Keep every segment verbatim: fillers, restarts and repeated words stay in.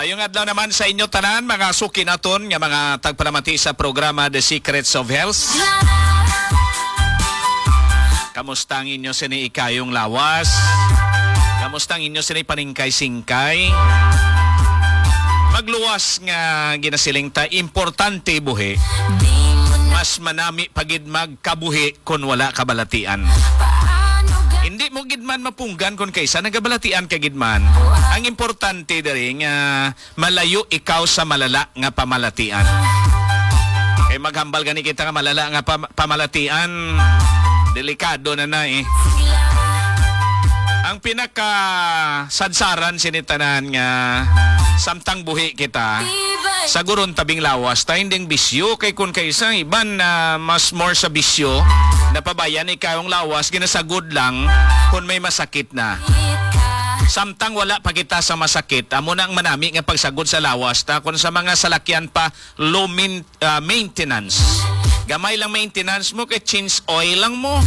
Maayong adlaw naman sa inyo tanan, mga suki naton nga mga tagpalamati sa programa The Secrets of Health. Kamusta ang inyo sini ikayong lawas? Kamusta ang inyo sini paningkay-singkay? Magluwas nga ginasiling ta, importante buhi. Mas manami pa gid magkabuhi kon wala kabalatian. Hindi mo gid man mapunggan kon kaysa nagabalatian ka gid man. Ang importante diri nga malayo ikaw sa malala nga pamalatian. Kay maghambal gani kita nga malala nga pam-, pamalatian, delikado na na eh. Ang pinaka sadsaran sini tanan nga samtang buhi kita, saguron tabing lawas ta, hindi ang bisyo, kay kun kaysa iban na mas more sa bisyo, napabayan ikaw ang lawas, ginasagod lang kun may masakit na. Samtang wala pa kita sa masakit, amo na ang manami nga pagsagod sa lawas ta. Kung sa mga salakyan pa, low min-, ah, maintenance. Gamay lang maintenance mo, kay change oil lang mo.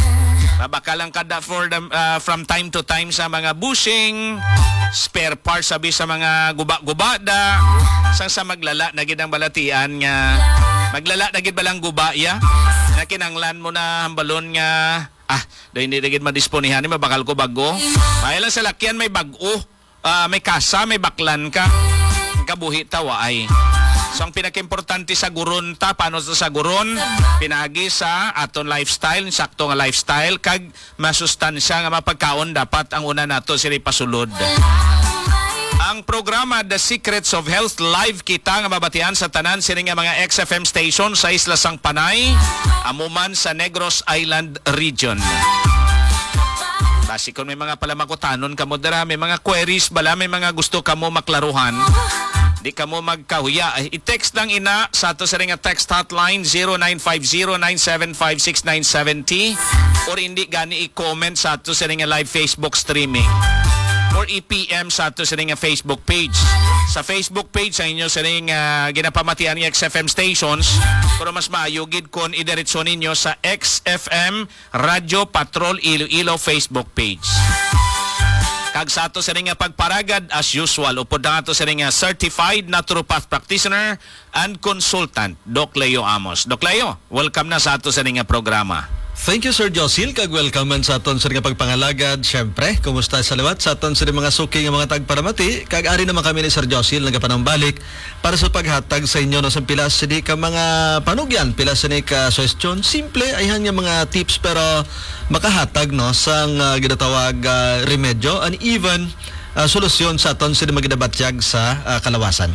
Mabaka lang kada for the, ah, from time to time sa mga bushing, spare parts, sabi sa mga guba-guba da. Sang sa maglala na gid ang balatian nga, maglala na gid balang guba ya. Nakinanglan mo na hambalon nga, ah, do hindi na gid madisponihan ni, mabakal ko bago. May lang salakyan, may bago. Ah, may kasa, may baklan ka, kabuhi ta waay. So, ang pinakaimportante, saguron ta. Paano sa saguron? Pinagi sa aton lifestyle, sakto nga lifestyle, kag masustansya nga mapagkaon dapat ang una nato sila ipasulod. Ang programa The Secrets of Health, live kita nga mabatian sa tanan sini nga mga X F M station sa Isla sang Panay, amo man sa Negros Island Region. Basi kung may mga palamakutanon kamo dira, may mga queries bala, may mga gusto kamo maklaruhan, di kamo magkahuya. Ay, i-text lang ina sa ato sa ring nga text hotline, zero nine five zero nine seven five six nine seven zero, or hindi gani i-comment sa ato sa ring nga live Facebook streaming, or i-P M sa ato sa ring nga Facebook page. Sa Facebook page sa inyo sa ring, ah, ginapamatian nga X F M stations, pero mas maayo gid kon idiretso ninyo sa X F M Radyo Patrol Iloilo Facebook page. Kag sa ato sini nga pagparagad, as usual, upod na ato sini nga certified naturopath practitioner and consultant, Doc Leo Amos. Doc Leo, welcome na sa ato sini nga programa. Thank you, Sir Josil, kag welcome man sa aton sini nga pagpangalagad. Siyempre, kumusta sa liwat sa aton sini mga suki nga mga tagparamati? Kag ari naman kami ni Sir Josil nagapanambalik para sa paghatag sa inyo, no, sa pila sini ka mga panugyan, pila sini ka suhestyon, simple, ayhan nga mga tips, pero makahatag, no, sang, ah, ginatawag, ah, remedyo and even, ah, solusyon sa aton sini maginabatyag sa, ah, kalawasan.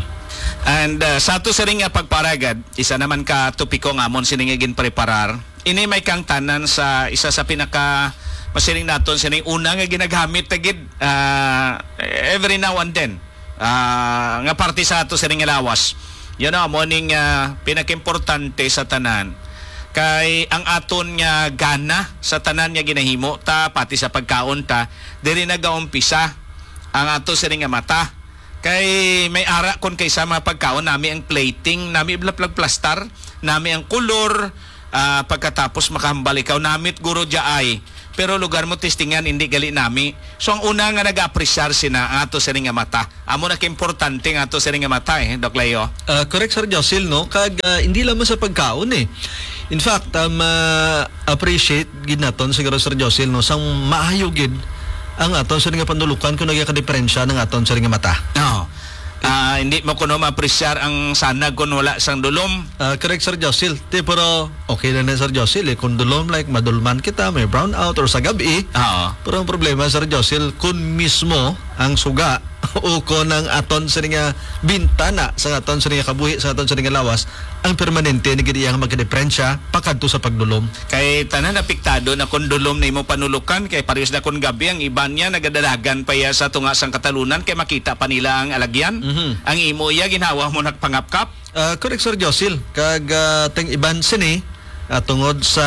And, ah, sa ato sini nga pagparagad, isa naman ka topiko nga amon sini nga ginpreparar. Ini may kangtanan sa isa sa pinaka masiling naton sini una nga ginagamit ta gid, ah, every now and then. Ah, nga parte sa ato sining lawas. Yan ang amo ning, ah, pinakaimportante sa tanan. Kay ang aton nga gana sa tanan nga ginahimo ta, pati sa pagkaon ta, diri nagaumpisa ang ato sining nga mata. Kay may ara kon kay sa mga pagkaon, nami ang plating, nami blaplagplastar, nami ang kulor, ah, pagkatapos makahambal ikaw, namit guro diya ay. Pero lugar mo testingan, hindi gali nami. So, ang una nga nag-apresyar sina ang ato sining nga mata. Amo na kaimportante ang ato sining nga mata, eh, Doc Leo. Ah, correct, Sir Josil, no? Kag, ah, hindi lamang sa pagkaon, eh. In fact, um, ah, appreciate gid naton siguro, Sir Josil, no? Sang maayo gid ang aton sining nga panulukan kung nagakadiperensya ng aton sining nga mata. Oo. Ah, hindi mo kuno ma-appreciate ang sanag kung wala sang dulom. Ah, correct, Sir Josil. Ti, pero okay lang na, Sir Josil, eh. Kung dulom, like, madulman kita, may brownout, or sa gabi. Oo. Pero ang problema, Sir Josil, kung mismo ang suga o kung ang aton sini nga bintana sa aton sini nga kabuhi, sa aton sini nga lawas, ang permanente ni gid iya nga magkadiperensya pakadto sa pagdulom. Kay tanan apektado na kung dulom na imo panulukan, kay parehas na kung gabi, ang iban niya nagadalagan pa iya sa tunga sang katalunan kay makita pa nila ang alagyan. Mhm. Ang imo iya ginhawa mo nagpangapkap. Ah, correct, Sir Josil. Kag, ah, ting iban sini, ah, tungod sa,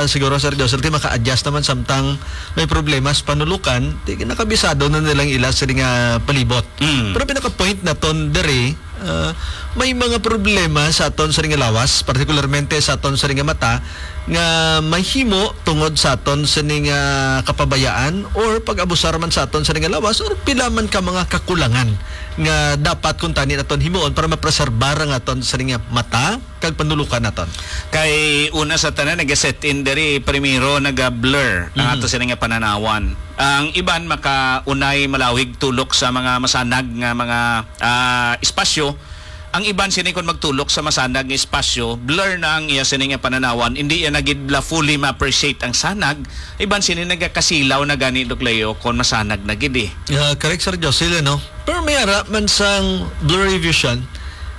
siguro, Sir Josil, ti maka-adjust naman samtang may problema sa panulukan, ti nakabisado na nilang ila sini nga palibot. Mm. Pero pinaka-point naton diri, ah, may mga problema sa aton sini nga lawas, partikularmente sa aton sini nga mata, nga mahimo tungod sa aton sini nga kapabayaan or pag-abusar man sa aton sini nga lawas or pila man ka mga kakulangan nga dapat kuntani naton himuon para mapreserbar ang aton sini nga mata kag panulukan naton? Kay una sa tanan, nag-set in diri, primero, naga-blur ang Mhm. ato sini nga pananawan. Ang iban makaunay malawig tulok sa mga masanag nga mga, ah, espasyo. Ang iban sini, kon magtulok sa masanag nga espasyo, blur na ang iya sini nga pananawan, hindi iya na gid bala fully ma-appreciate ang sanag. Iban sini nagakasilaw na gani, Doc Leo, kon masanag na gid eh. Ah, correct, Sir Josil, no? Pero may ara man sang blurry vision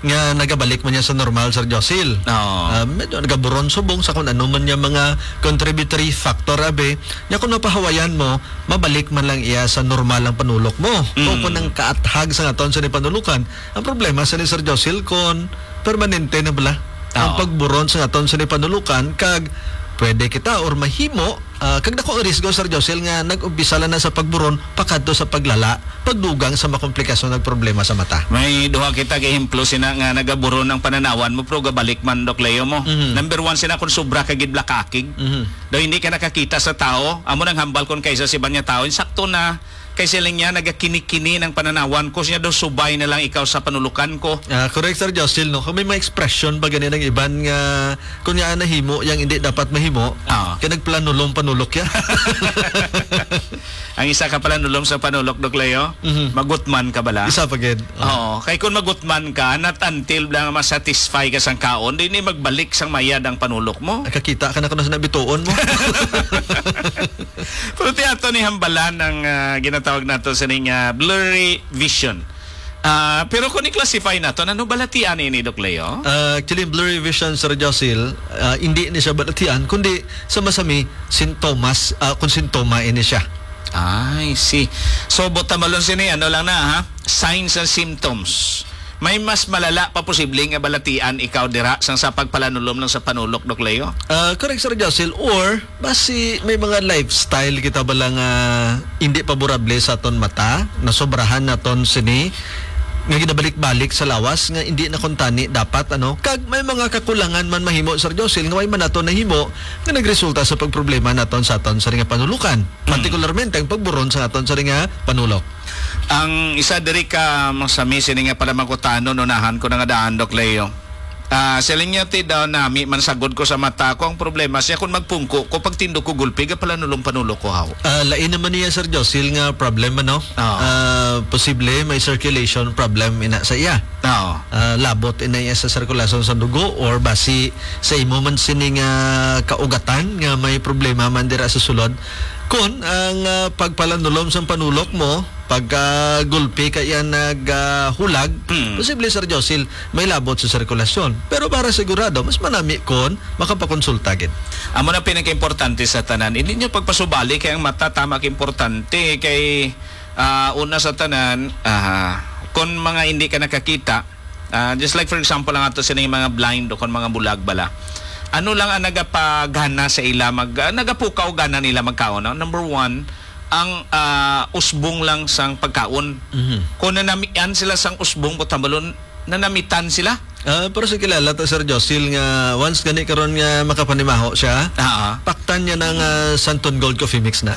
nga nagabalik man niya sa normal, Sir Josil. Oo. Ah, medyo nagaburon subong sa kung ano man niya mga contributory factor, abi. Nya kung mapahawayan mo, mabalik man lang iya sa normal ang panulok mo. O Mm. kung ang kaathag sa aton sa panulukan, ang problema sa ni Sir Josil kon permanente na bala ang Ah. pagburon sa aton sa panulukan, kag pwede kita or mahimo, ah, kag dako ang risgo, Sir Josil, nga nag-umpisa lang na sa pagburon pakadto sa paglala, pagdugang sa mga komplikasyon ug problema sa mata. May duha kita ka ehemplo sina nga nagaburon ang pananawan mo, pero gabalik man, Doc Leo, mo. Mhm. Number one, sina kung sobra ka gid blakakig. Mhm. Daw hindi ka nakakita sa tao, amo nang hambal kon kaysa si banya tao, insakto na. Kay siling niya, nagakini-kini ng pananawan ko. Siya daw, subay na lang ikaw sa panulukan ko. Ah, correct, Sir Justin, no? Kung may mga expression ba gani ng iban nga, kung niya nahimo, yang hindi dapat mahimo, Ah. kaya nagplanulong panulok ya. Ang isa ka planulong sa panulok, Doc Leo, Mhm. magutman ka bala? Isa pa gid. Oo. Oo. Kay kung magutman ka, not until lang masatisfy ka sang kaon, di ni magbalik sang mayad ang panulok mo. Nakakita ka na kuno sa nabituon mo. Pero ti ato ni hambalan ang, ah, ginatawag nato sining, ah, blurry vision. Ah, pero kung i-classify nato, ano balatian ini, Doc Leo? Ah, actually, blurry vision, Sir Josil, ah, hindi ni siya balatian, kundi sa masami, sintomas, ah, kung sintoma ini siya. I see. So, botamalon sini, ano lang na, ha? Signs and symptoms. May mas malala pa posible nga balatian ikaw dira sang sa pagpalanulom lang sa panulok, Doc Leo? Ah, correct, Sir Josil. Or, basi may mga lifestyle kita bala nga hindi paborable sa aton mata, nasobrahan naton sini, nga ginabalik-balik sa lawas, nga hindi na kuntani dapat, ano? Kag may mga kakulangan man mahimo, Sir Josil, nga may man nato nahimo nga nagresulta sa pagproblema naton sa aton sa nga panulukan, Mm. partikularmente ang pagburon sa aton sa nga panulok. Ang isa diri ka masami sini nga pala makutanon, unahan ko na nga daan, Doc Leo. Ah, siling niya, ti daw nami man sagod ko sa mata ko. Ang problema siya kung magpungko ko, pagtindog ko gulpi, ga pala nulong panulo ko, haw. Ah, lain naman niya, Sir Josil, nga problema, no? Oo. Ah, posible may circulation problem ina sa iya. Oo. Ah, labot ina iya sa sirkulasyon sa dugo or basi sa imo man sini nga kaugatan nga may problema man dira sa sulod. Kun ang, ah, pagpalanulom sang panulok mo, pagka gulpi ka iya nag, ah, hulag, Hmm. posible, Sir Josil, may labot sa sirkulasyon. Pero para sigurado, mas manami kon makapakonsulta gid. Amo na pinakaimportante sa tanan. Hindi niyo pagpasubali kay ang mata tama ka importante kay, ah, una sa tanan, ah, kung mga hindi ka nakakita, ah, just like for example, ang ato sining mga blind o kung mga bulag bala. Ano lang ang nagapagana sa ila mag, ah, nagapukaw gana nila magkaon, no? Number one, ang, ah, usbong lang sang pagkaon. Mhm. Kung nanamian sila sang usbong, butambalon, nanamitan sila. Ah, pero sa kilala to, Sir Josil, nga once gani karon nga makapanimaho siya, Ah, ah. paktan niya ng, ah, Santon Gold Coffee Mix na.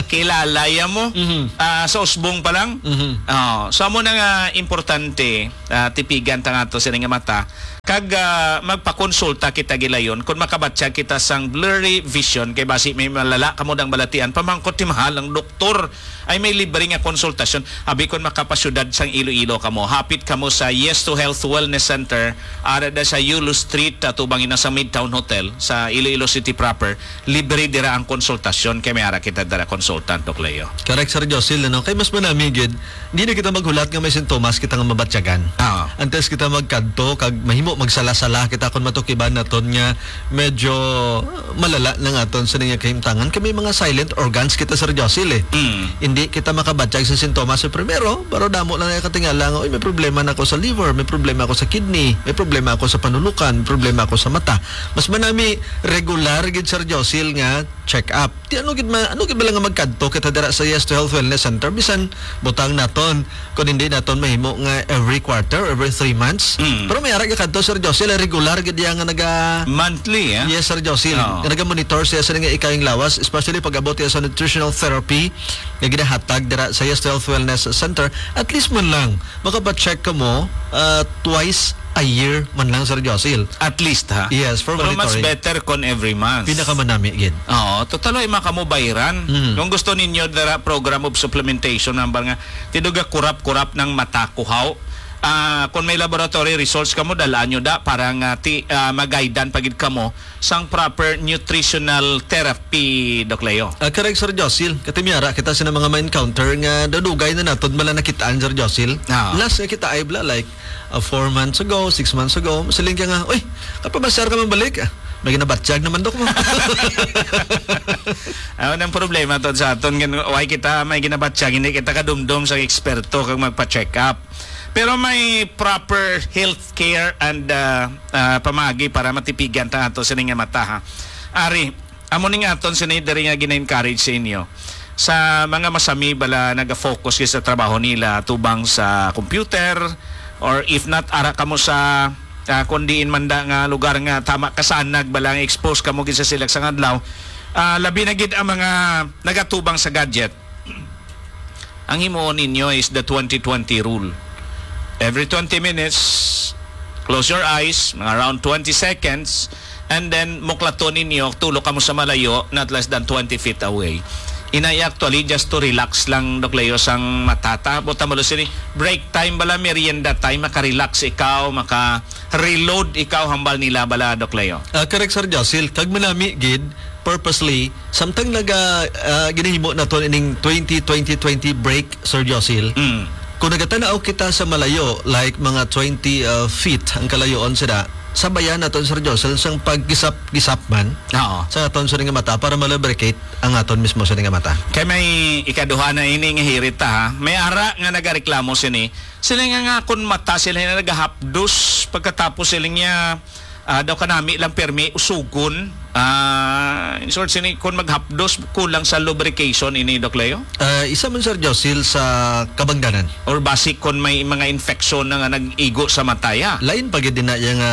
Kilala ya mo? Mhm. Ah, sa usbong pa lang? Mhm. Oh, so amo na nga importante, ah, tipigan ta nga to sila nga mata. Kag, ah, magpakonsulta kita gilayon kung makabatyag kita sang blurry vision kay basi may malala kamo dang balatian, pamangkot ti mahal ang doktor. Ay may libre nga konsultasyon. Abi kon makapasyudad sang Iloilo kamo, hapit kamo sa Yes to Health Wellness Center, ara da sa Yulo Street, ah, tubang ina sa Midtown Hotel, sa Iloilo City proper. Libre dira ang konsultasyon kay may ara kita dira consultant, Doc Leo. Correct, Sir Josil, ano? Kay mas manami gid, di na kita maghulat nga may sintomas kita nga mabatyagan. Ah. Antes kita magkadto, kag mahimo magsala-sala kita kung matukiban naton nga medyo malala na nga aton sa niya kahimtangan. Kay may mga silent organs kita, Sir Josil, eh. Mm. Hindi kita makabatyag sa sintomas sa primero, pero damo lang na katingala nga, "Uy, may problema na ako sa liver, may problema ako sa kidney, may problema ako sa panulukan, may problema ako sa mata." Mas manami regular Dar gid, Sir Josil, nga check up. Di ano gid ma-, ano gid ba lang nga magkadto kita dira sa Yes to Health Wellness Center? Bisan butang naton kung hindi naton mahimo nga every quarter, every three months. Mm. Pero may ara gid kadto, Sir Josil, regular gid iya nga naga Monthly, eh? Yes, Sir Josil. Oo. Nga naga-monitor siya sa nga ikayong lawas, especially pag-abot iya sa nutritional therapy nga ginahatag dira sa Yes to Health Wellness Center. At least man lang, makapa-check ka mo, ah, twice a year man lang, Sir Josil. At least, ha? Yes, for Pero mas monitoring. Better kon every month. Pinakamanami gid. Oo, total ay makamubayran. Mm. Kung gusto ninyo dara program of supplementation, number nga, tiduga kurap-kurap ng mata, kuhaw. Ah, kung may laboratory results kamo, dalaan nyo da para nga ti, ah, magaidan pa gid kamo sang proper nutritional therapy, Doc Leo. Ah, correct, Sir Josil. Kati may ara kita sina mga ma-encounter nga dadugay na naton bala nakitaan, Sir Josil. Ah. Last nga kita ay bala, like, ah, four months ago, six months ago, masiling ka nga, "Uy, kapamasyar ka man balik." Ah, may ginabatyag naman, Dok, mo. Ano ang problema to sa aton? Gan-, why kita may ginabatyag? Hindi kita kadumdom sa eksperto kag magpa-check up. Pero may proper health care and, ah, ah, pamagi para matipigan ta ato sini nga mata, ha. Ari, amo ning aton sini diri nga gina-encourage sa inyo. Sa mga masami bala naga-focus gid sa trabaho nila tubang sa computer, or if not, ara kamo sa, ah, kung diin man da nga lugar nga tama kasanag bala nga expose kamo gid sa silag sang adlaw. Ah, labi na gid ang mga nagatubang sa gadget. Ang himuon ninyo is the twenty twenty rule. Every twenty minutes, close your eyes, mga around twenty seconds, and then muklaton ninyo, tulo kamo sa malayo, not less than twenty feet away. Inay, actually, just to relax lang, Doc Leo, sang mata ta. Buta mo sini, break time bala, merienda time, maka-relax ikaw, maka-reload ikaw, hambal nila bala, Doc Leo. Ah, correct, Sir Josil. Kag manami gid, purposely, samtang naga, ah, ginahimo naton ining twenty twenty twenty break, Sir Josil, Mm. kung nagatanaw kita sa malayo, like mga twenty, ah, feet ang kalayoon sila, sabayan naton, Sir Josil, sang paggisap-gisap man Oo. sa aton sa nga mata para ma-lubricate ang aton mismo sa nga mata. Kay may ikaduha na ini nga hirit ta, ha. May ara nga nagareklamo sini. Sila nga, nga kun mata sila nga nagahapdos pagkatapos sila niya ah, daw kanami lang permi usugon. Ah, in short, sini, kung maghapdos, kulang sa lubrication ini, Doc Leo? Ah, isa man, Sir Josil, sa kabangdanan. Or basi kung may mga infection na nga nag-igo sa mata, ya. Lain pa gid din na iya nga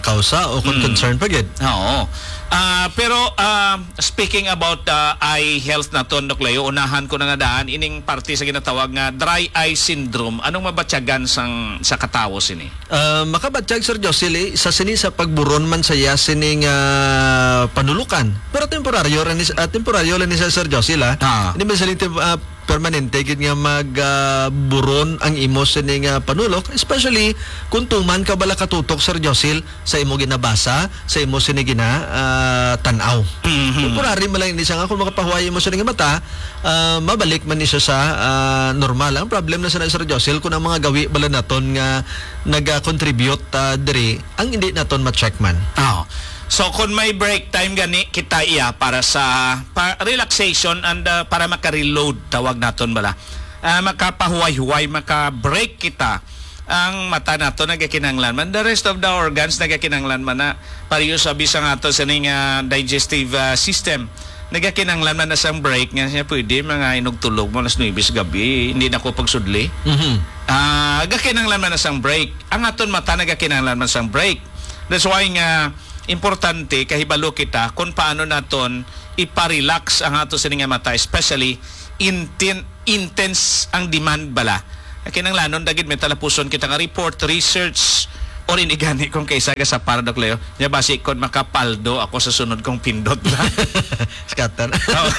kausa o kung Mm. concern pa gid. Oo. Ah, pero, ah, speaking about, ah, eye health naton, Doc Leo, unahan ko na nga daan, ining parte sa ginatawag nga dry eye syndrome. Anong mabatyagan sang, sa katawo sini? Ah, makabatyag, Sir Josil, eh, sa sini sa pagburon man saya sining, ah, panulukan. Pero temporaryo ra ni, ah, temporaryo lang ni sa Sir Josil, ah. Ah. Hindi man sila tem-, ah, permanente gid nga mag, ah, buron ang imo sining, ah, panulok, especially kung tuman ka bala katutok, Sir Josil, sa imo ginabasa, sa imo sini gina, ah, tan-aw. Mhm. Temporary man lang ini siya nga kung makapahuway imo sining mata, ah, mabalik man ni siya sa, ah, normal. Ang problem na sa Sir Josil kung ang mga gawi bala naton nga naga-contribute, ah, diri, ang hindi naton ma-check man. Oh. So, kung may break time gani, kita iya para sa pa-, relaxation and, ah, para maka-reload, tawag naton bala. Ah, makapahuway-huway, maka-break kita. Ang mata nato nagakinahanglan man. The rest of the organs nagakinahanglan man na. Pareho sa bisang ato sa ning, ah, digestive, ah, system. Nagakinahanglan man na sang break nga siya pwede mga inugtulog mo alas nuebe sa gabi, hindi na ko pagsudli. Mhm. Ah, gakinahanglan man na sang break. Ang aton mata nagakinahanglan man sang break. That's why nga importante kahibalo kita kung paano naton ipa-relax ang ato sini nga mata, especially intin-, intense ang demand bala. Kinahanglanon dagid may talapuson kita nga report, research, or inigani kung kaysa ka sa Pardoc Leo. Nya basi kon makapaldo ako sa sunod kong pindot na. Scatter. Oh.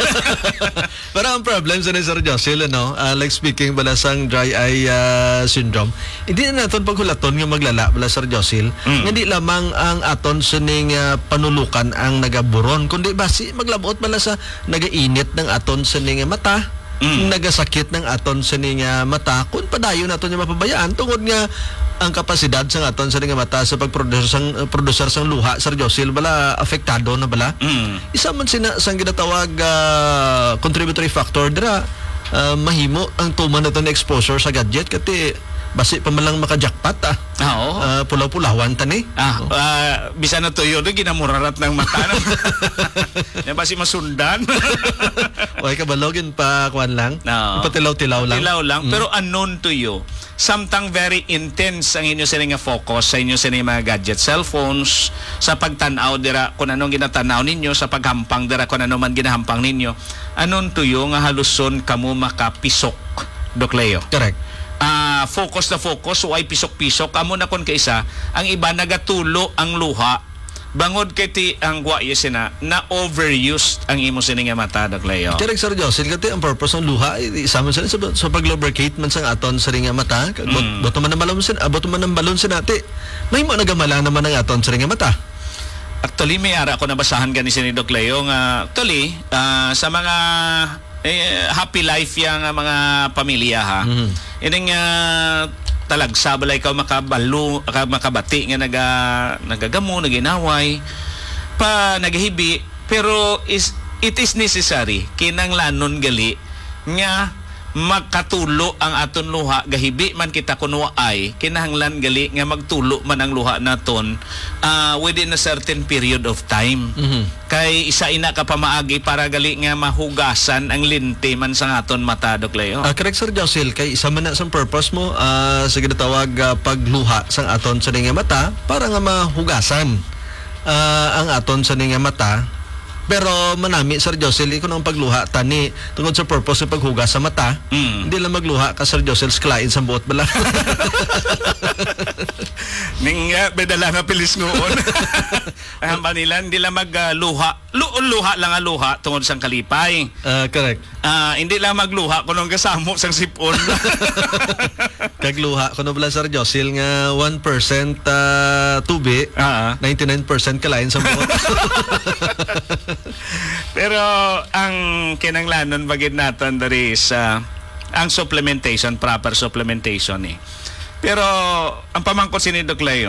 Pero ang problem sa ni Sir Josil, ano, ah, like speaking bala sang dry eye, ah, syndrome, hindi na naton paghulaton nga maglala bala, Sir Josil, Mm. nga di lamang ang aton sining, ah, panulukan ang nagaburon, kundi basi maglabot bala sa nagainit ng aton sining mata, Mm. nagasakit ng aton sining, ah, mata, kung padayon naton nga mapabayaan tungod nga ang kapasidad sa aton sining mata sa pagproducer sang, producer sang luha, Sir Josil, bala apektado na bala. Mm. Isa man sina sang ginatawag, ah, contributory factor dira, ah, mahimo ang tuman naton exposure sa gadget, kati Basi pa man lang maka-jackpot, ah. Ah, oo. Ah, pulaw-pulawan ta ni. Ah, Oh. ah, bisan na tuyo, no, ginamurarat ng mata na. Yan, basi masundan. Way kabalo, ginpa-, kuwan lang. Oo. Ipatilaw-tilaw lang. Tilaw lang, Mm. pero unknown to you. Samtang very intense ang inyo sini nga focus sa inyo sini mga gadget, cellphones, sa pagtan-aw dira kung anong ginatan-aw ninyo, sa paghampang dira kung ano man ginahampang ninyo, unknown to you nga haluson kamo makapisok, Doc Leo. Correct. Ah, focus na focus, way pisok-pisok. Amo na kon kaisa, ang iba nagatulo ang luha. Bangod kay ti ang wa iya sina, na-overused ang imo sini nga mata, Doc Leo. Correct, Sir Jocelyn. Kati ang purpose ng luha, ay, isa man sila sa, sa pag-lubricate man sang aton sini nga mata. Kag but-, Mm. buto man ang balon sin-, ah, buto man ang balon sinati. Mahimo nagamala naman ang aton sini nga mata. Actually, may ara ko nabasahan gani sini, Doc Leo, nga actually, ah, sa mga, eh, happy life ya nga mga pamilya, ha. Mhm. Ining, ah, talagsa bala ikaw makabalo, ka-, makabati nga naga-, nagagamo, naginaway, pa nagahibi, pero is, it is necessary, kinahanglanon gali nga makatulo ang aton luha, gahibi man kita kun waay, kinahanglan gali nga magtulo man ang luha naton, ah, within a certain period of time. Mhm. Kay isa ina ka pamaagi para gali nga mahugasan ang lente man sa aton mata, Doc Leo. Ah, correct, Sir Josil. Kay isa man na sang purpose mo, ah, sa ginatawag, ah, pagluha sang aton sa nga mata para nga mahugasan, ah, ang aton sa nga mata. Pero manami, Sir Josil, kung ang pagluha tani tungod sa purpose sa paghugas sa mata, Mm. hindi lang magluha ka, Sir Josil, sa kalain sa buot bala. Ning, ah, may dala nga pilis nguon. Ang hamba nila, hindi lang mag, ah, luha. Lu-, luha lang ang luha tungod sang kalipay. Ah, correct. Ah, hindi lang magluha kung anong kasamo sang sipon. Kag luha, kuno bala, Sir Josil, nga one percent, ah, tubi, Ah. ninety-nine percent kalain sa buot. Pero ang kinanglanon bagid naton diri is, ah, ang supplementation, proper supplementation, eh. Pero ang pamangkot sini, Doc Leo,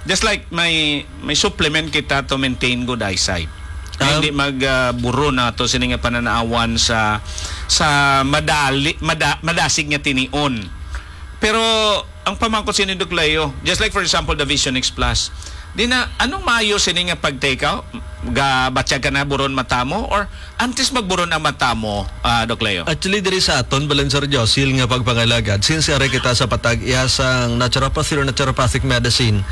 just like may, may supplement kita to maintain good eyesight. Nga Um, hindi mag, ah, buron nato sini nga pananawan sa, sa madali, mada-, madasig nga tinion. Pero ang pamangkot sini, Doc Leo, just like for example, the Vision X Plus, di na, anong maayo sini nga pag-take out? Gabatyag ka na buron mata mo? Or antes magburon ang mata mo, ah, Doc Leo? Actually, diri sa aton, Balancer Josil, nga pagpangalagad, since ari kita sa patag-iya sang naturopathy or naturopathic medicine,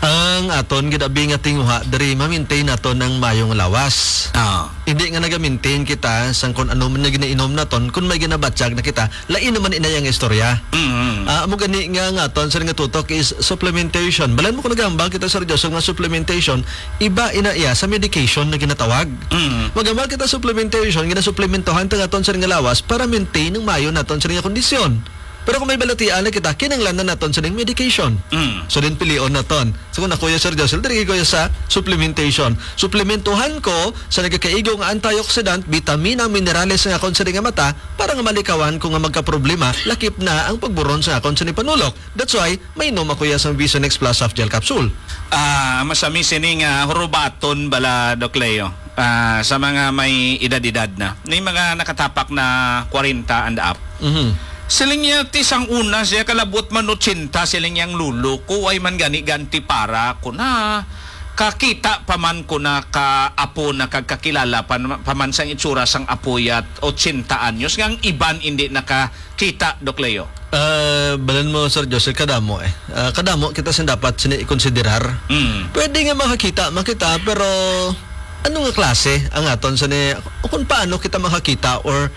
ang aton ginabi nga tinguha diri, ma-maintain naton ang mayong lawas. Ah. Hindi nga naga-maintain kita sang kung ano man nga ginainom naton, kung may ginabatyag na kita, lain naman inay ang istorya. Mm. Ah, amo gani nga ang aton sa nga tutok is supplementation. Balan mo kung nagahambal kita, Sir Joseph, nga supplementation, iba ina iya sa medication na ginatawag. Mm. Magambal kita supplementation, ginasuplementohan ta nga aton sa nga lawas para maintain ang maayo naton sa nga kondisyon. Pero kung may balatian na kita, kinahanglan na naton sa medication. Mm. So, din pilion naton. So, kung ako ya, Sir Joseph, diri ko ya sa supplementation. Suplementuhan ko sa nagakaigo nga antioxidant, bitamina, minerales nga akon sa nga mata para nga malikawan ko nga magkaproblema, lakip na ang pagburon sa akon sa panulok. That's why, may inom ako ya sa Vision X Plus Soft Gel Capsule. Ah, masami sini nga hurubaton bala, Doc Leo. Ah, sa mga may edad-edad na. May mga nakatapak na kwarenta and up. Mhm. Siling niya, ti sang una siya, kalabot man otsenta, siling niya ang lolo ko, ay man gani ganti para ko na. Kakita pa man ko na ka apo na kag kakilala pa, pa man sang itsura sang apo yat otsenta anyos, nga ang iban hindi nakakita, Doc Leo. Ah, balan mo, Sir Joseph, kadamo eh. Ah, kadamo kita sin dapat sini ikonsiderar. Mm. Pwede nga makakita, makita, pero ano nga klase ang aton sa ni, o kung paano kita makakita or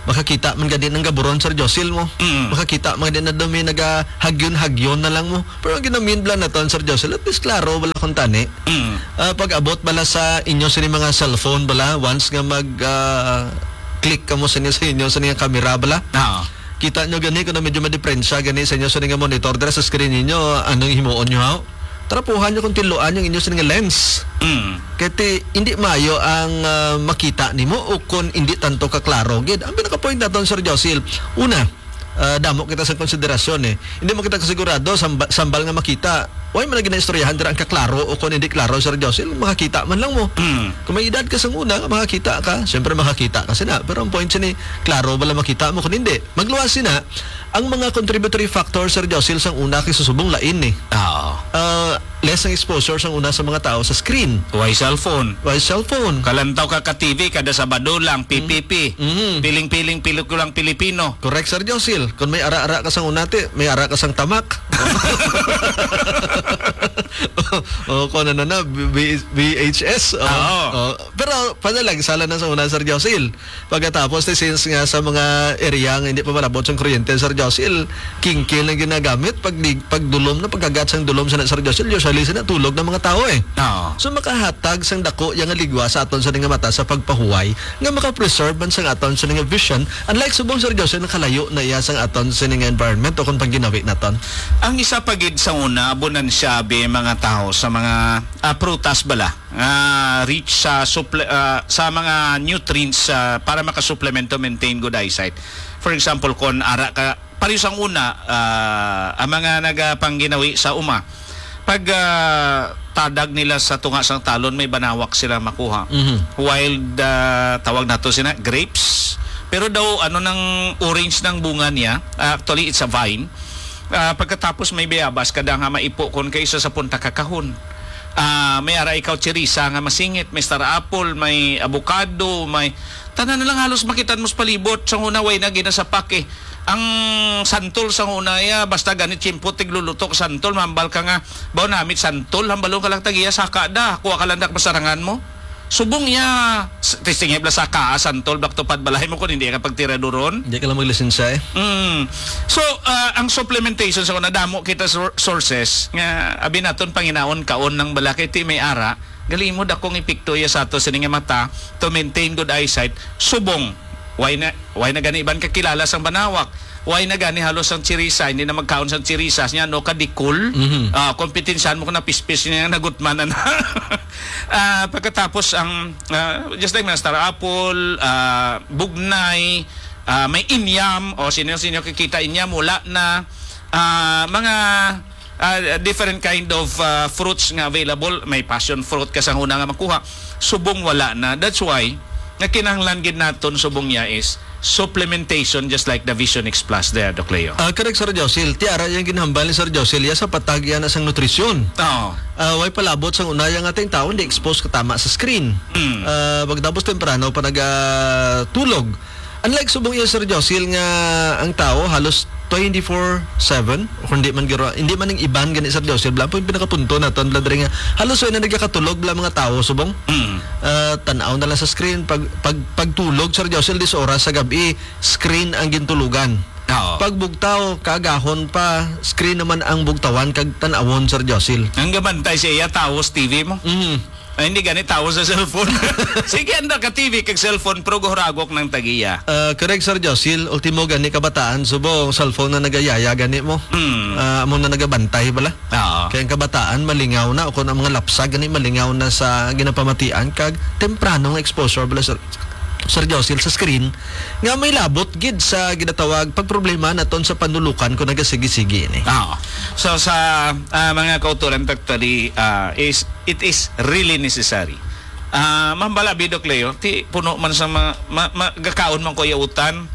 makakita man gani ng gaburon, Sir Josil, mo? Mm. Makakita man gani na dumi nagahagyon-hagyon na lang mo. Pero ang ginamin bala naton, Sir Josil, at least klaro bala kung tani. Mm. Ah, pag-abot bala sa inyo sini mga cellphone bala, once nga mag, ah, click kamo sa inyo, sa inyo, sa inyong camera bala. Oo. Kita nyo gani kung medyo madiperensya gani sa inyo sa nga monitor dira sa screen ninyo, anong himuon nyo, ha? Trapuhan nyo kung tiluan yung inyo sa nga lens. Mm. Kaya ti, hindi maayo ang, ah, makita nimo o kung hindi tanto kaklaro gid. Ang pinaka-point naton, Sir Josil, una, ah, damo kita sa konsiderasyon eh. Hindi mo kita kasigurado, samba-, sambal nga makita. Way man na ginaistoryahan dira ang kaklaro o kung hindi klaro, Sir Josil, makakita man lang mo. Mm. Kung may edad ka sa una, makakita ka, siyempre makakita ka sina. Pero ang point sini, klaro bala makita mo kung hindi. Magluwas sina, Ang mga contributory factors, Sir Josil, sang una kay susubong lain ni. Oo. Ah, less ang exposure sang una sa mga tao sa screen. Why cellphone? Why cellphone? Kalantaw ka ka T V kada Sabado lang, Mm. P P P. Mhm. Piling-piling pelikulang Pilipino. Correct, Sir Josil. Kung may ara-ara ka sang una, ti, may ara ka sang tamak. O, kung ano na, V-, V-, V H S. O, Oo. o. Pero, panalag, sala na sa una, Sir Josil. Pagkatapos, ti, since nga sa mga area nga hindi pa malabot sang kuryente, Sir Josil, kingkil ang ginagamit pag di-, pag dulom na, pagkagat sang dulom sa Sir Josil, usually sa natulog ng mga tao, eh. Oo. So, makahatag sang dako yang ligwa sa aton sa nga mata sa pagpahuway nga maka-preserve man sang aton sa nga vision, unlike subong, Sir Josil, nakalayo na iya sang aton sa nga environment o kung pag ginawi naton. Ang isa pa gid sa una, abunan siya, bi, mga tao sa mga, ah, prutas bala nga rich sa suple-, ah, sa mga nutrients, ah, para makasupplement to maintain good eyesight. For example, kon ara ka, pareho sang una, ah, ang mga nagapangginawi sa uma, pag, ah, tadag nila sa tunga sang talon, may banawak sila makuha. Mhm. While the, tawag nato sina, grapes. Pero daw, ano nang orange ng bunga niya? Ah, actually, it's a vine. Ah, pagkatapos may bayabas, kada nga maipo kon kay isa sa punta kakahon. Ah, may ara ikaw chirisa nga masingit, may star apple, may avocado, may tanan na lang halos makitan mo sa palibot. Sa una, way na ginasapak eh. Ang santol sa una, ya, basta ganit tiyempo, tigluluto ka santol, mambal ka nga, "Baw namit santol, hambalon ka lang tagiya, saka da, kuha ka lang dak masarangan mo." Subong iya, s-, testing bala sa kaa, santol, back to pad balay mo kung hindi ka pagtiraduron. Hindi ka lang maglisensya eh. Mm. So, ah, ang supplementation sa una, damo kita sor-, sources nga abi naton panginaon kaon ng balakay ti may ara, gali mo dakong epekto iya sa ato sini nga mata to maintain good eyesight. Subong, why na, why na gani iban kakilala sang banawak? Why na gani halos ang chirisa, hindi na magkaon sang chirisa, niya no kadikol? Mhm. Ah, kompetensyahan mo kung napispis niya nagutmanan na. Ah, pagkatapos ang, ah, just like na star apple, ah, bugnay, ah, may inyam, o sino-sino kikita inyam, wala na. Ah, mga, ah, different kind of, ah, fruits nga available. May passion fruit ka sa una nga makuha. Subong wala na. That's why, nga kinahanglan gid naton subong niya is supplementation just like the Vision X Plus there, Doc Leo. Ah, correct, Sir Josil. Ti ara yang ginhambal ni Sir Josil, ya sa patag yan sang nutrisyon. Oo. Ah, way palabot sang unaya nga ating tao, hindi expose ka tama sa screen. Mm. Ah, pagtapos temprano pa nagatulog. Unlike subong iya, Sir Josil, nga ang tao halos twenty-four seven, o kung di man giro-, hindi man ang iban gani, Sir Josil, bala po yung pinakapunto naton, bala diri nga halos wala na nagkakatulog bala mga tao, subong. Mm. Ah, tan-aw na lang sa screen. Pag, pag, pagtulog, Sir Josil, dis oras sa gabi, screen ang gintulugan. Oo. Pag bugtaw, kaagahon pa, screen naman ang bugtawan kag tan-awon, Sir Josil. Ang gabantay sa iya, tawo sa T V mo. Mm. Ay, hindi gani tawo sa cellphone. Sige, anda ka T V kag cellphone, pero guhuragok ng tagiya. Ah, correct, Sir Josil. Ultimo gani kabataan, subo, cellphone na nagayaya gani mo. Mm. Ah, amo na nagabantay bala. Oo. Kaya ang kabataan, malingaw na, o kung ang mga lapsag gani, malingaw na sa ginapamatian, kag temprano nga exposure bala, Sir, Sir Josil, sa screen, nga may labot gid sa ginatawag pagproblema naton sa panulukan kung nagasigi-sigi ini. Oo. So, sa, ah, mga kauturan, actually, ah, is, it is really necessary. Ah, mambala, Bidok Leo, ti puno man sa mga, ma-, ma-, gakaon man ko yautan.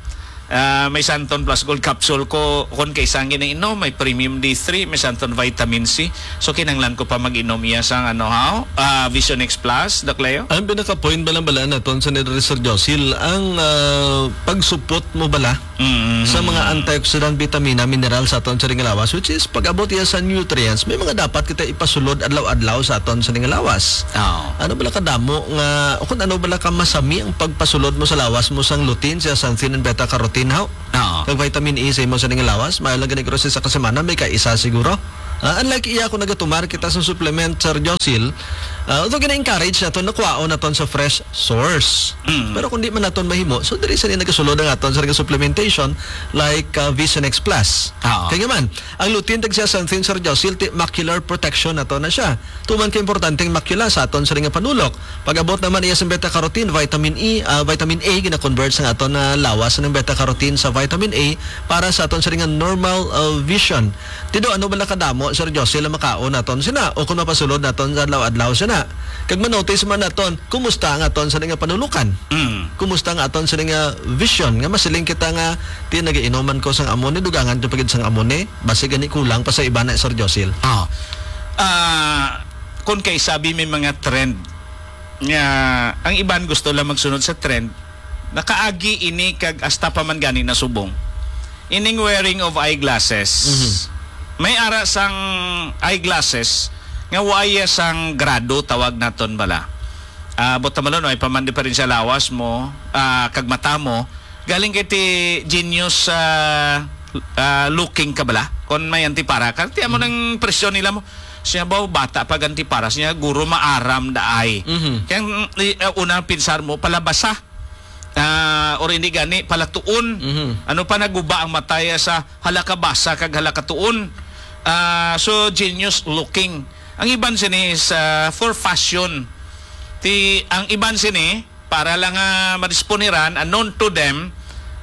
Ah, may Santon Plus Gold capsule ko, kon kay sang ginainom, may Premium D three, may Santon Vitamin C. So, kinanglan ko pa mag-inom iya sang, ano, ha? Ah, Vision X Plus, Doc Leo? Ang pinaka-point bala-bala naton sa ni Sir Josil, ang, ah, pagsupot mo bala Mm. sa mga antioxidant, bitamina, mineral sa aton sa ring lawas, which is pag-abot iya sa nutrients, may mga dapat kita ipasulod adlaw-adlaw sa aton sa ring lawas. Oo. Ano bala kadamo nga, o kung ano bala ka masami ang pagpasulod mo sa lawas mo sang lutein, zeaxanthin, and beta carotene, haw? Oo. Kag vitamin E sa imo sa ning lawas, maayo lang gani, grocery sa kasemana, may kaisa siguro. Ah, unlike iya, kung nagatumar kita sa supplement, Sir Josil, ah, although gina-encourage naton na kuwaon naton sa fresh source. Mm. Pero kung di man naton mahimo, so diri sa ni nagasulod ang aton sa supplementation, like, ah, Vision X Plus. Oo. Kaya man, ang lutein kag zeaxanthin, Sir Josil, ti macular protection nato na siya. Tuman ka importanteng makula sa aton sa nga panulok. Pag-abot naman iya sa beta carotene, vitamin E, ah, vitamin A, gina-convert sa aton na lawas ng beta carotene sa vitamin A para sa aton sa nga normal, ah, vision. Tido, ano bala kadamo Sir Josel, ang makaon naton sina, o kung mapasulod naton sa adlaw-adlaw sina. Kag manotice man naton, kumusta ang aton sa nga panulukan? Mm. Kumusta ang aton sa nga vision? Nga masiling kita nga, "Ti, nagainuman ko sang amo ni, dugangan ko pa gid sang amo ni." Basi gani kulang pa sa iba na, Sir Josel. Ah. Ah, kung kay sabi may mga trend nga ang iban gusto lang magsunod sa trend, nakaagi ini kag hasta pa man gani nasubong. Ining wearing of eyeglasses. Mhm. May ara sang eyeglasses nga wa iya sang grado, tawag naton bala. Ah, buot silingon, may pa man diperensya lawas mo, ah, kag mata mo, galing kay ti genius, ah, ah, looking ka bala. Kon may antipara ka, ti amo Mm. nang presyon nila mo. Siya ba, bata pa antipara, siya guro maaram daay. Mhm. Kaya, mm, i-, ah, una pinsar mo, palabasa. Ah, or hindi gani, palatuon. Mhm. Ano pa, naguba ang mataya sa halakabasa kag halakatuon. Ah, so, genius looking. Ang iban sini is, ah, for fashion. Ti, ang iban sini, para lang nga madisponiran, unknown to them,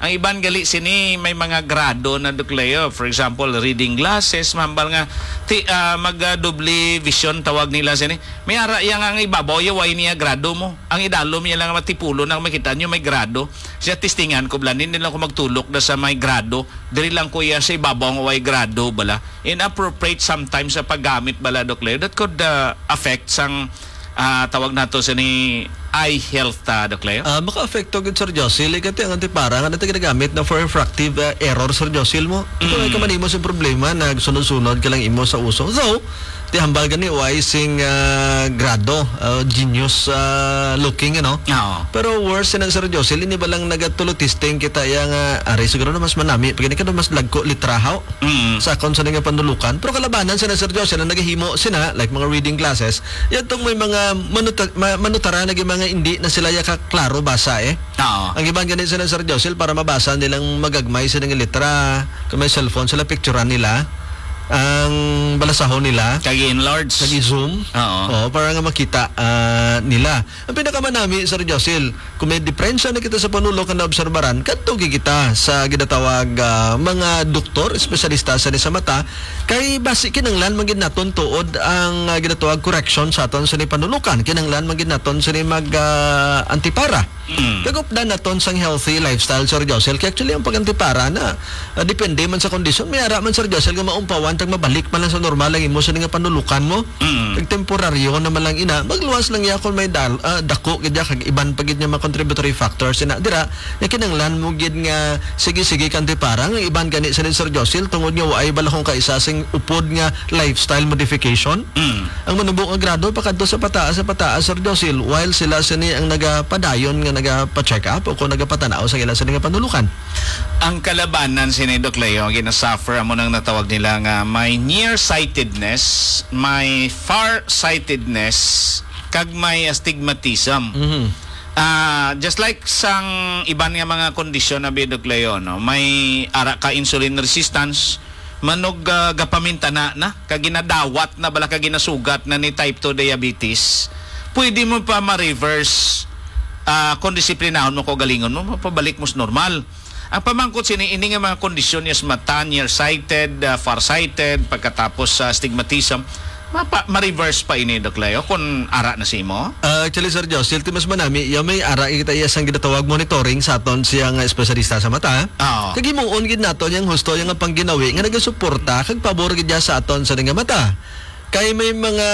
ang iban gali sini may mga grado na, Doc Leo. For example, reading glasses, mahambal nga, ti, ah, mag, ah, doble vision tawag nila sini. May ara iya nga ang ibabaw, iya way niya grado mo. Ang idalom niya lang matipulo na makita niyo may grado. Siya testingan ko, bala, hindi lang ko magtulok na sa may grado. Diri lang ko iya sa ibabaw nga way grado, bala. Inappropriate sometimes sa paggamit, bala, Doc Leo. That could, ah, affect sang, ah, tawag nato sini eye health, ah, Doc Leo. Ah, maka-affect to gid, Sir Josel. Kay ang antipara nga nato ginagamit na for refractive, ah, error, Sir Josel, mo. Ito ay Mm. kamanimo sa problema, nagsunod-sunod ka lang imo sa uso. Though, ti hambal gani, way sing, ah, grado, ah, genius, ah, looking, ano? Oo. Pero worse na, Sir Josel, ini ba lang nagatulotesting kita iya nga, ari siguro na mas manami, pag ini ka na mas lagko litrahaw Mm. sa akon sa nga panulukan. Pero kalabanan sina, Sir Josel, ang nagahimo sina, like mga reading classes, yadtong may mga manuta-, ma-, manutara na gyud mga hindi na sila ya kaklaro basa, eh. Oo. Ang iban gani sila, Sir Josel, para mabasa nilang magagmay sila nga litra, kung may cellphone sila, picturean nila ang balasahon nila. Kag i-enlarge. Kag i-zoom. Oo. Oo, para nga makita, ah, nila. Ang pinakamanami, Sir Josel, kung may diperensya na kita sa panulok nga naobserbaran, kadto gid kita sa ginatawag, ah, mga doktor, espesyalista sa, sa mata, kay basi kinahanglan man gid naton tuod ang, ah, ginatawag correction sa aton sa panulukan. Kinahanglan man gid naton sini mag, ah, antipara. Mm. Kag updan naton sang healthy lifestyle, Sir Josel. Kay actually, ang pag-antipara na, ah, depende man sa kondisyon. May ara man, Sir Josel, nga maumpawan tag mabalik man lang sa normal ang imo sini nga panulukan mo. Mm. Kag temporaryo naman lang ina, magluwas lang iya kung may dal-, ah, dako gid iya, kag iban pa gid nga mga contributory factors. Ina, dira, nga kinahanglan mo gid nga sige-sige ka antipara, nga iban gani sini, Sir Josel, tungod nga waay bala kung kaisa sing upod nga lifestyle modification. Mm. Ang manubo nga grado pakadto sa pataas, sa pataas, Sir Josel, while sila sini ang nagapadayon nga nagapa-check up o kung nagapatanaw sa ila sini nga panulukan. Ang kalabanan sini, Doc Leo, ang ginasuffer amo nang natawag nila nga may nearsightedness, may farsightedness, kag may astigmatism. Mhm. Ah, just like sang iban nga mga kondisyon na bi, Doc Leo, no? May ara ka insulin resistance, manog, ah, gapamintana na, kag ginadawat na bala, kag ginasugat na ni type two diabetes, pwede mo pa ma-reverse, ah, kung disiplinahon mo, kaugalingon mo, mapabalik mo sa normal. Ang pamangkot sini, ini nga mga kondisyon niya sa mata, nearsighted, ah, farsighted, pagkatapos sa astigmatism, mapa-, ma-reverse pa ini, Doc Leo, kung ara na sa imo? Ah, actually, Sir Josel, ti mas manami, ya may ara kita iya sang ginatawag monitoring sa aton siya nga espesyalista sa mata. Oo. Kag himuon gid naton yang husto yang pangginawi nga nagasuporta kag pabor gid ya sa aton sa nga mata. Kay may mga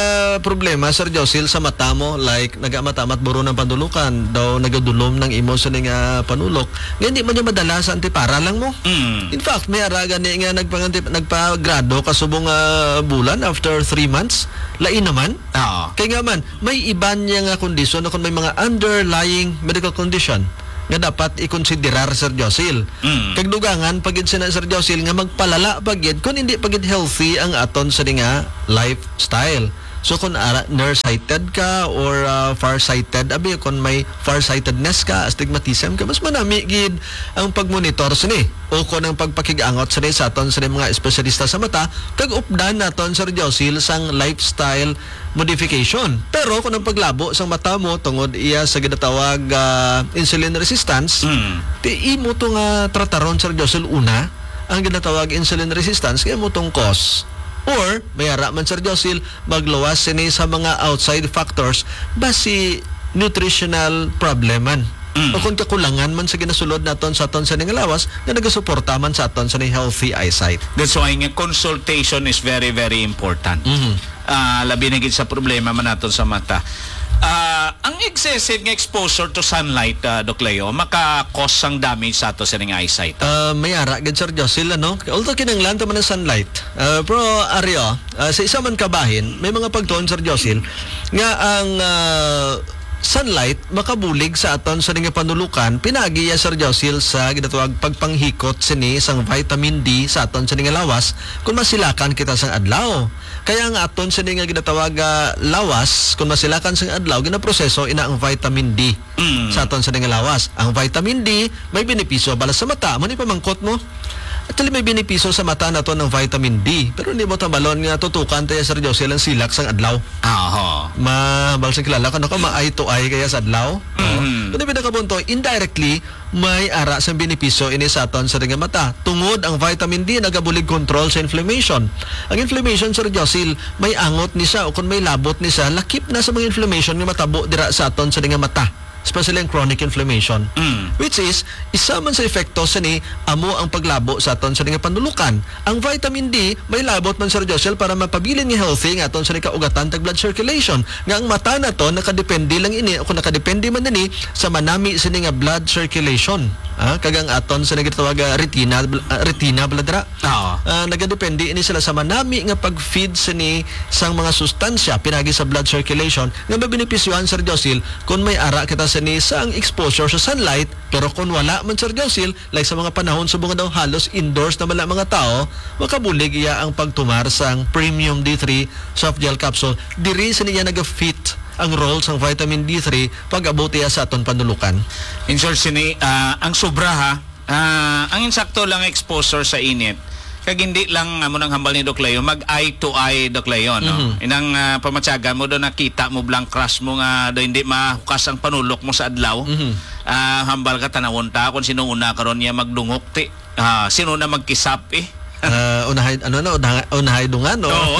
problema, Sir Josel, sa mata mo, like, nagamata-mat buron ang panulukan, daw nagadulom nang imo sa nga panulok, nga hindi man niya madala sa antipara lang mo. Mm. In fact, may ara gani nga nagpangantip-, nagpagrado kasubong nga bulan after three months, lain naman. Oo. Kay nga man, may iban niya nga kondisyon o kung may mga underlying medical condition nga dapat ikonsiderar, Sir Josil. Mm. Kag dugangan pa gid sina, Sir Josil, nga magpalala pa gid kung hindi pa gid healthy ang aton sa nga lifestyle. So kung ara, nearsighted ka or, ah, farsighted, abi, kung may farsightedness ka, astigmatism ka, mas manami gid ang pagmonitor sini o kung ang pagpakig-angot sini sa aton sini mga espesyalista sa mata, kag updan naton, Sir Josil, sang lifestyle modification. Pero kung ang paglabo sang mata mo tungod iya sa ginatawag, ah, insulin resistance, Mm. ti imo to nga trataron, Sir Josil, una, ang ginatawag insulin resistance, kay amo tong cause Or, may ara man, Sir Josil, magluwas sini sa mga outside factors, basi nutritional problem man. Mm. O kung kakulangan man sa ginasulod naton sa aton sa ning lawas, nga nagasuporta man sa aton sa ning healthy eyesight. That's why nga consultation is very, very important. Mhm. Ah, labi na gid sa problema man naton sa mata. Ah, ang excessive nga exposure to sunlight, ah, Doc Leo, maka-cause sang damage sa ato sa ning eyesight. Ah, may ara gid, Sir Josil, ano? Although kinahanglan ta man ang sunlight. Ah, pero, ari, oh, ah, sa isa man ka bahin, may mga pagtuon, Sir Josil, nga ang, ah, sunlight makabulig sa aton sa ning panulukan, pinaagi ya, Sir Josil, sa ginatawag pagpanghikot sini sang vitamin D sa aton sa ning lawas kung masilakan kita sang adlaw. Kaya ang aton sini nga ginatawag, ah, lawas, kung masilakan sang adlaw, ginaproseso ina ang vitamin D Mm. sa aton sini nga lawas. Ang vitamin D may benepisyo bala sa mata. Amo ni pamangkot mo? Actually, may benepisyo sa mata naton ang vitamin D. Pero hindi mo tambalon nga tutukan tayo, Sir Josie, ang silak sang adlaw. Aho. Ma, bal sa kilala ko, nako, ma-eye to eye kaya sa adlaw. Oo. Mhm. Kundi pinakapunto, indirectly, may ara sang benepisyo ini sa aton sa nga mata. Tungod ang vitamin D nagabulig control sa inflammation. Ang inflammation, Sir Josil, may angot ni siya o kung may labot ni siya, lakip na sa mga inflammation nga matabo dira sa aton sa nga mata. Especially ang chronic inflammation. Mm. Which is, isa man sa epekto sini amo ang paglabo sa aton sa nga panulukan. Ang vitamin D, may labot man, Sir Joshel, para mapabilin nga healthy nga aton sa kaugatan tag blood circulation. Nga ang mata naton nakadepende lang ini, o kung nakadepende man ini sa manami sini nga blood circulation. Ah, kag ang aton sa nagtawag, ah, retina, bl-, ah, retina bala dira. Oo. Ah, nagadepende ini sila sa manami nga pag-feed sini sang mga sustansya pinagi sa blood circulation nga mabenepisyohan, Sir Josil, kung may ara kita sini sa ang exposure sa sunlight. Pero kung wala man, Sir Josil, like sa mga panahon subong nga daw halos indoors na man ang mga tao, makabulig iya ang pagtumar sang Premium D three Soft Gel Capsule. Diri sini iya naga-fit ang role sang vitamin D three pag-abot iya sa aton panulukan. In short, sini, ah, ang sobra, ha, ah, ang insakto lang exposure sa init. Kag hindi lang, amo nang hambal ni Doc Leo, mag eye to eye, Doc Leo, no? Mhm. Inang, ah, pamatyagan mo do, nakita mo blank crush mo nga do hindi mahukas ang panulok mo sa adlaw. Mhm. Ah, hambal ka, tanawon ta kung sino una karon niya magdungok, ti, ah, sino na magkisap, eh. Ah, unahay, ano na, unahay, unahay dungan, no? Oo.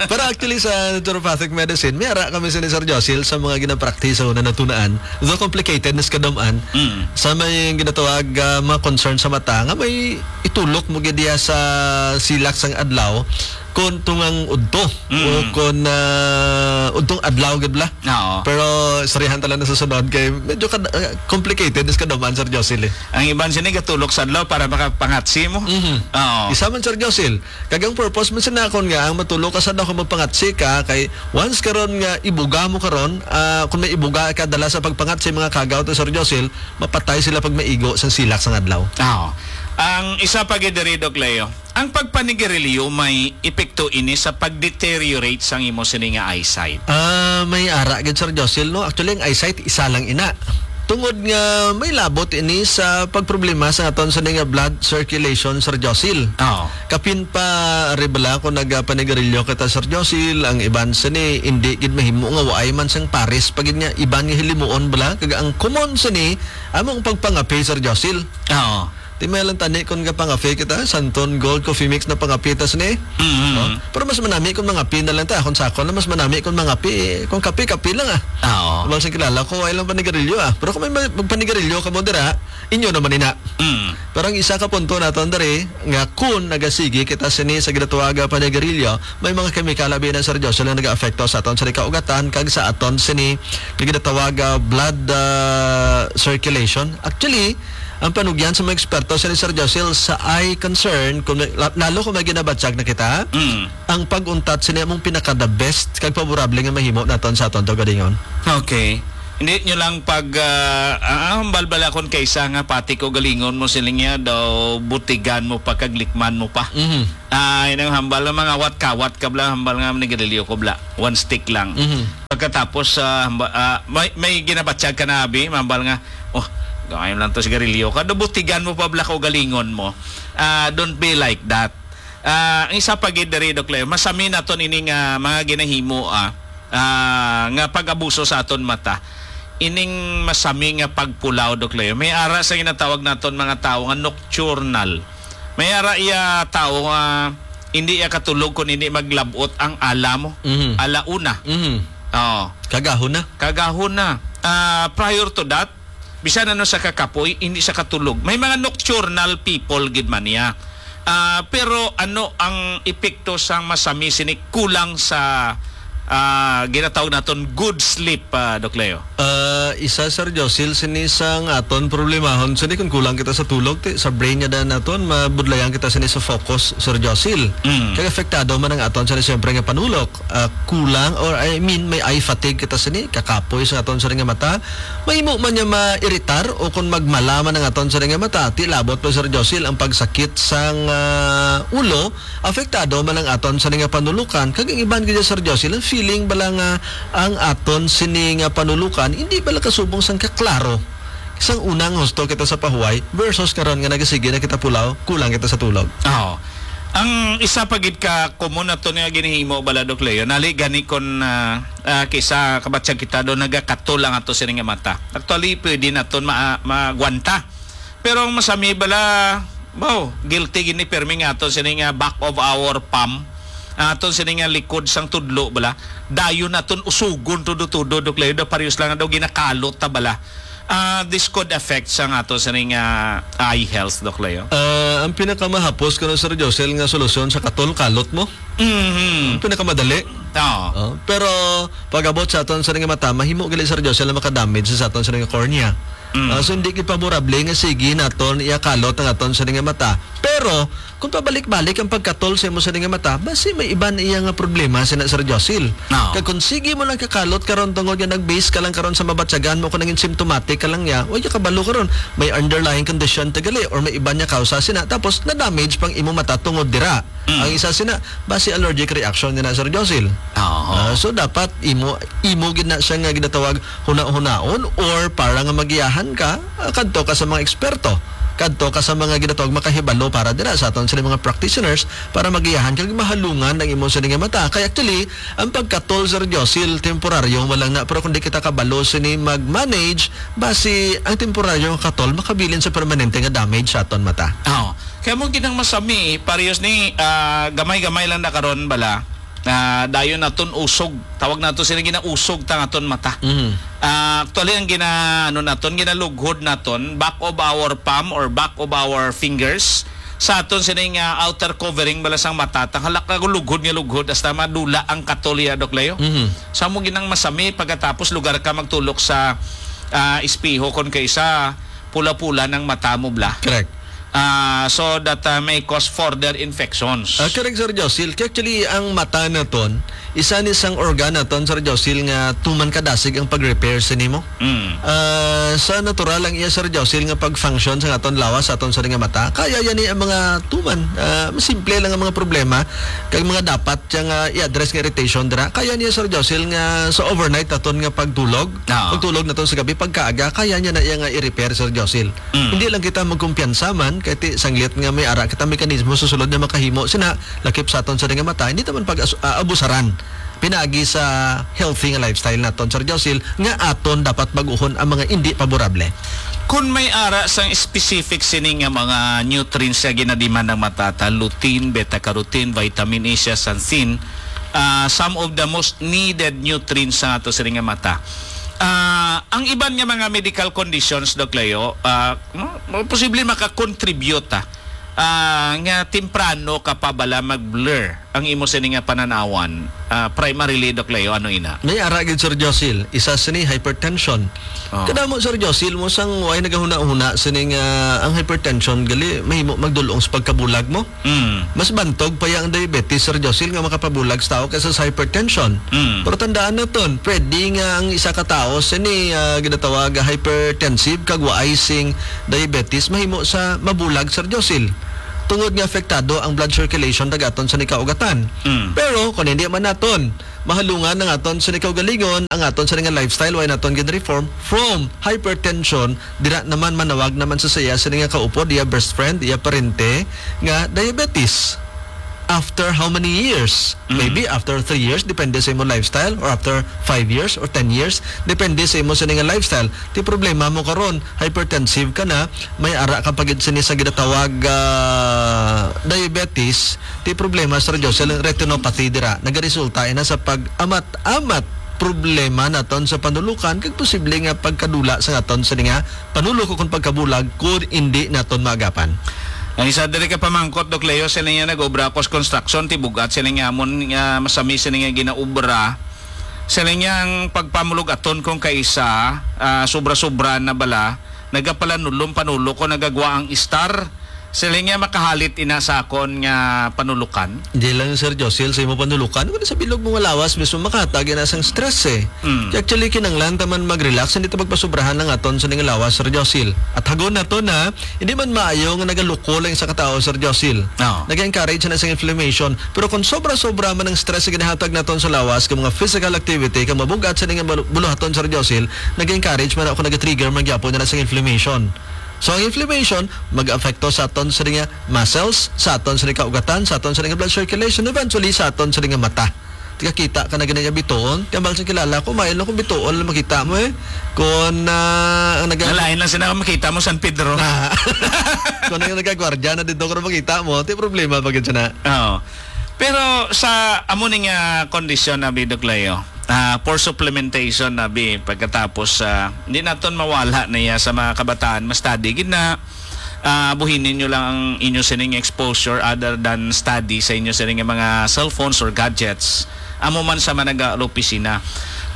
Pero actually, sa naturopathic medicine, may ara kami sini, Sir Josil, sa mga ginapractice sa una natunaan. Though complicated, nas kadam-an, Mm. sa may ginatawag, ah, mga concern sa mata, nga may itulok mo gid diya sa silak sang adlaw, kung tungang udto, Mm. o kung, ah, udtong adlaw gid bala. Oo. Pero istoryahan ta lang na sa sunod kay medyo kad-, ah, complicated is kaduman, Sir Josil, eh. Ang iban sini gatulok sa adlaw para makapangatsi mo. Mhm. Oo. Isa man, Sir Josil, kag ang purpose man sina akon nga ang matulok ka sa adlaw kung magpangatsi ka, kay once karon nga ibuga mo karon, ah, kung may ibuga ka dala sa pagpangatsi, mga kagaw to, Sir Josil, mapatay sila pag maigo sa silak sang adlaw. Oo. Ang isa pa gid diri, Doc Leo, ang pagpanigarilyo may epekto ini sa pag-deteriorate sang imo sini nga eyesight? Ah, may ara gid, Sir Josil, no? Actually, ang eyesight, isa lang ina. Tungod nga may labot ini sa pagproblema sa aton sini nga blood circulation, Sir Josil. Oo. Kapin pa, ari bala, kung nagapanigarilyo kita, Sir Josil, ang iban sini, hindi gid mahimo nga waay man sang pares pa gid nga iban nga hilimuon bala. Kag ang common sini, amo ang pagpangape, Sir Josil. Oo. Ti may lang tani kung kapangape kita, Santon Gold Coffee Mix na pangape ta sini. Mm. Oh, pero mas manami kung mangape na lang ta. Kung sa ako na mas manami kung mangape, eh, kung kape, kape lang, ah. Ah, oo. Wala sing kilala ko, ay lang panigarilyo, ah. Pero kung may ma-, magpanigarilyo ka mo dira, inyo naman ina. Mm. Pero ang isa ka punto naton diri, nga kung nagasigi kita sini sa ginatawag nga panigarilyo, may mga kemikal abi na, Sir Joshua, nga nag-aapekto sa aton sa kaugatan kag sa aton sini nga ginatawag nga blood, ah, circulation. Actually, ang panugyan sa mga eksperto sini, Sir Josil, sa eye concern, kung may, la-, lalo kung may ginabatyag na kita, Mm. ang pag-untat sini among pinaka the best kag favorable nga mahimo naton sa aton kaugalingon. Okay. Hindi nyo lang pag, ah, ah, hambal bala kon kaysa nga pati kaugalingon mo sila niya daw butigan mo pa kag likman mo pa. Mhm. Ah, inang hambal nga mga kawat-kawat ka bala, hambal nga manigarilyo ko bala. One stick lang. Mhm. Pagkatapos, ah, hamba-, ah, may, may ginabatyag ka na, abi, hambal nga, "Oh, gawain lang to sigarilyo ka." Daw butigan mo pa bala kaugalingon mo. Ah, don't be like that. Ah, ang isa pa gid diri, Doc Leo, masami naton ining, ah, mga ginahimo, ah, ah, nga pag-abuso sa aton mata. Ining masami nga pagpulaw, Doc Leo. May ara sa ginatawag naton mga tawo nga nocturnal. May ara iya tawo nga, hindi iya katulog kung hindi maglabot ang ala mo. Mhm. Ala una. Mhm. Oo. Kagahon na. Kagahon na. Ah, prior to that, bisan ano sa kakapoy, hindi sa katulog. May mga nocturnal people gid man niya. Ah, pero ano ang epekto sang masami sini kulang sa, ah, ginatawag naton good sleep, ah, Doc Leo? Ah, isa, Sir Josil, sini sang aton problemahon sini kung kulang kita sa tulog, ti, sa brain niya dan naton, mabudlayan kita sini sa focus, Sir Josil. Mm. Kag apektado man ang aton sini siyempre nga panulok. Ah, kulang, or I mean, may eye fatigue kita sini, kakapoy sa aton sini nga mata. Mahimo man niya mairitar o kung magmala man ang aton sini nga mata, ti labot pa, Sir Josil, ang pagsakit sang, ah, ulo, apektado man ang aton sini nga panulukan. Kag ang iban gid, Sir Josil, ang feeling bala nga ang aton sini nga panulukan hindi bala kasubong sang kaklaro sang unang husto kita sa pahuway versus karon nga nagasigi na kita pulaw, kulang kita sa tulog. Oo. Ang isa pa gid ka common nato nga ginahimo bala, Doc Leo, nali gani kon, ah, ah, kisa kabatyag kita do nagakatol ang ato sini nga mata. Actually, pwede naton ma-, magwanta. Pero ang masami bala, wow, guilty gini permi nga ato sini nga back of our palm. Ang aton sini nga likod sang tudlo bala. Dayon naton usugon tudo-tudo, Doc Leo, do parehas lang daw ginakalot ta bala. Ah, this could affect sang ato sini nga eye health, Doc Leo. Ah, ang pinakamahapos kuno, Sir Josel, nga solusyon sa katol, kalot mo. Mhm. Ang pinakamadali. Oo. Oh, pero pag-abot sa aton sini nga mata, mahimo gali, Sir Josel, na makadamage sa aton sini nga cornea. Mm. Ah, so, hindi gid favorable nga sige naton iyakalot ang aton sini nga mata. Pero kung pabalik-balik ang pagkatol sa imo sini nga mata, basi may iban iya nga problema sina, Sir Josil. Oo. Kag kung sige mo lang kakalot karon tungod nga nag-base ka lang karon sa mabatyagan mo kung nangin symptomatic ka lang niya, wa ka kabalo karon may underlying condition ta gali or may iban niya kausa sina, tapos na-damage pang imo mata tungod dira. Mm. Ang isa sina, basi allergic reaction niya na, Sir Josil. Oo. Ah, so dapat imo, imo gid na siya nga ginatawag huna-hunaon, or para nga magiyahan ka, ah, kadto ka sa mga eksperto. Kadto ka sa mga ginatawag makahibalo para dira sa aton sini mga practitioners para magiyahan kag mahalungan ang imo sini nga mata. Kay actually, ang pagkatol, Sir Josil, temporaryo man lang na, pero kung di kita kabalo sini mag-manage, basi ang temporaryo nga katol makabilin sa permanente nga damage sa aton mata. Oo. Kaya mo ginang masami, parehas ni, ah, gamay-gamay lang na karon bala. Ah, dayon naton usog. Tawag nato sila ginausog ta aton mata. Mhm. Ah, actually, ang gina-, ano naton, ginalughod naton, back of our palm or back of our fingers, sa aton sining, ah, outer covering bala sang mata, tang halak ka lughod nga lughod, hasta madula ang katol iya, Doc Leo. Mhm. Sa mo ginang masami, pagkatapos lugar ka magtulok sa, ah, espeho, kon kaisa, pula-pula ng mata mo, bla. Correct. Ah, so that, ah, may cause further infections. Ah, correct, Sir Josil. Kaya actually, ang mata naton, isa ni sang organ naton, Sir Josil, nga tuman kadasig ang pag-repair sa nimo. Mm. Ah, sa natural ang iya, Sir Josil, nga pag-function sa aton lawas, sa aton sa nga mata, kaya yan ni ang mga tuman. Ah, simple lang ang mga problema, kag mga dapat siya nga i-address nga irritation dira. Kaya niya, Sir Josil, nga sa overnight naton nga pagtulog, Oo. pagtulog naton sa gabi, pagkaaga, kaya niya na iya nga i-repair, Sir Josil. Mm. Hindi lang kita magkumpiyansa man, kay ti, sanglit nga may ara kita mekanismo sa sulod nga makahimo, sina, lakip sa aton sa nga mata, hindi naman pag-abusaran. Pinaagi sa healthy nga lifestyle naton, Sir Josil, nga aton dapat baguhon ang mga hindi paborable. Kung may ara sang specific sini nga mga nutrients nga ginademand ng matata, lutein, beta-carotene, vitamin E, zeaxanthin, ah, some of the most needed nutrients sa ato sini nga mata. Ah, ang iban nga mga medical conditions, Doc Leo, ah, mo-, mo-, posible makakontribute, ah, ah, nga temprano ka pa bala mag-blur ang imo sini nga pananawan, ah, primarily, Doc Leo, ano ina? May ara gid, Sir Josil. Isa sini, hypertension. Oh. Kadamo, Sir Josil, mo sang way nagahuna-huna sini nga ang hypertension gali mahimo magdulong sa pagkabulag mo. Mm. Mas bantog pa ya ang diabetes, Sir Josil, nga makapabulag sa tao kaysa sa hypertension. Mm. Pero tandaan naton, pwede nga ang isa ka tawo sini, ah, ginatawag hypertensive kag waay sing diabetes mahimo sa mabulag, Sir Josil. Tungod nga apektado ang blood circulation dagat aton sa nikaugatan. Mm. Pero kung hindi man naton mahalungan ang aton sa nikaugalingon, ang aton sa nga lifestyle, way naton gin-reform from hypertension, dira naman manawag naman sa saya sa nga kaupod, iya best friend, iya parente nga diabetes. after how many years? Mm. Maybe after three years, depende sa imo lifestyle, or after five years or ten years, depende sa imo sini nga lifestyle. Ti problema mo karon, hypertensive ka na, may ara ka pa gid sini sa ginatawag, ah, diabetes. Ti problema, Sir Josel, ang retinopathy dira, nagaresulta ina sa pag-amat-amat problema naton sa panulukan, kag posible nga pagkadula sa naton sini nga panulok o kung pagkabulag kung indi naton maagapan. Ang isa diri ka pamangkot, Doc Leo, sila nga nag-obra ako sa construction, tibugat sila nga amon nga masami sila nga ginaobra. Sila nga ang pagpamulog aton kung kaisa, ah, sobra-sobra na bala, nagapalanulom panulok ko nagagwa ang star. Sila nga makahalit ina sa akon nga panulukan. Di lang, Sir Josil, sa imo panulukan, kundi sa bilog mo nga lawas mismo makatag ina sang stress eh. Mm. Kaya actually, kinanglan ta man mag-relax, hindi ta magpasubrahan ang aton sa ning lawas, Sir Josil. At hagon nato na, hindi man maayo nga nagaluko lang sa katao, Sir Josil. Oo. Nag-encourage na sa inflammation. Pero kung sobra-sobra man ang stress nga ginahatag naton sa lawas, kay mga physical activity, kay mabugat sa ning bulu-, buluhaton, Sir Josil, nag-encourage man ako, nag-trigger man gyapon na sa inflammation. So, ang inflammation, mag-apekto sa aton sa nga muscles, sa aton sa nga kaugatan, sa aton sa nga blood circulation, eventually sa aton sa nga mata. Tikakita ka na gani nga bituon. Kaya bang sa kilala ko, mail lang kung bituon lang makita mo eh. Kung, ah, ang nag- Nalain lang sila kung makita mo San Pedro. Ah. Kung ano yung nagagwardya na dito, kung makita mo, ito yung problema pag yun na. Oo. Pero sa amo ni nga kondisyon na, Bi, Doc Leo, ah, for supplementation na, Bi, pagkatapos, ah, hindi naton mawala na iya sa mga kabataan, ma-study gid na, ah, buhinin nyo lang ang inyo sining exposure other than study sa inyo sining mga cellphones or gadgets. Amo man sa mga nag-opisina.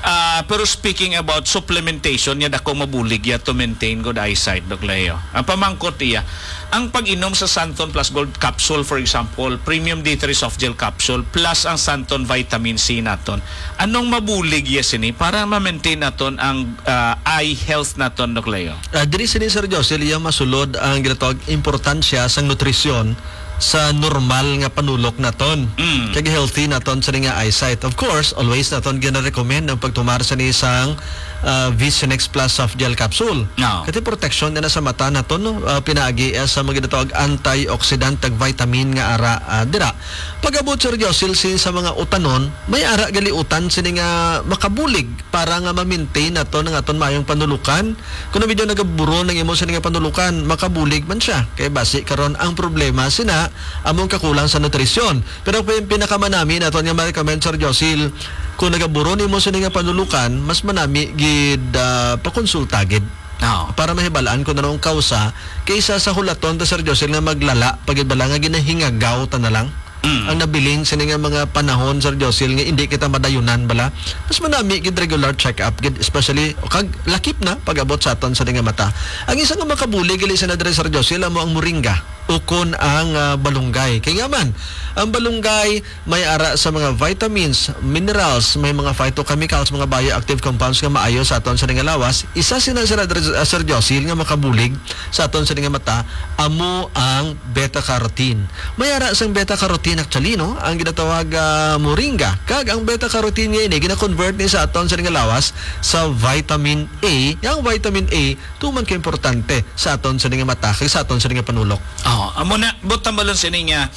Ah, pero speaking about supplementation, niya dako mabulig ya to maintain good eyesight, Doc Leo. Ang pamangkot iya, ang pag-inom sa Santon Plus Gold capsule, for example, premium D three soft gel capsule, plus ang Santon vitamin C naton. Anong mabulig ya sini para ma-maintain naton ang, ah, eye health naton, Doc Leo? Ah, diri sini, Sir Josil, iya masulod ang ginatawag importansya sang nutrisyon sa normal nga panulok naton. Mm. Kag healthy naton sa nga eyesight. Of course, always naton gina-recommend ang pagtumar sa ni sang, ah, Vision X Plus Soft Gel Capsule. No. Kati protection na sa mata naton, no? Ah, pinaagi, ah, sa mga ginatawag antioxidant, tag vitamin nga ara, ah, dira. Pag-abot, Sir Josil, sin sa mga utanon, may ara gali utan sini nga makabulig para nga ma-maintain naton ang aton mayong panulukan. Kung medyo nagaburon ang imo sini nga panulukan, makabulig man siya. Kay basi karon ang problema sina among kakulang sa nutrisyon. Pero pin-, pinakamanami naton nga ma-recommend, Sir Josil, kung nagaburon imo sini nga panulukan, mas manami gid, ah, pakonsulta gid. Oo. Para mahibalaan kung anong kausa, kaysa sa hulaton ta, Sir Josil, nga maglala pa gid bala nga ginahingagaw ta na lang. Mm. Ang nabilin sini nga mga panahon, Sir Josil, nga hindi kita madayunan bala. Mas manami gid regular check-up gid, especially kag lakip na pag-abot sa aton sa nga mata. Ang isa nga makabulig gali sa nadre, Sir Josil, amo ang moringa ukon ang, ah, balunggay. Kay nga man, ang balunggay may ara sa mga vitamins, minerals, may mga phytochemicals, mga bioactive compounds nga maayo sa aton sa nga lawas. Isa sina, Sir, Adre-, ah, Sir Josil, nga makabulig sa aton sa nga mata, amo ang beta carotene. May ara sang beta carotene actually, no? Ang ginatawag, ah, moringa. Kag ang beta carotene nga ini gina-convert ni sa aton sa nga lawas sa vitamin A. Yang vitamin A tuman ka importante sa aton sa nga mata kag sa aton sa nga panulok. Oh, amo na, buot tambalon sini nga,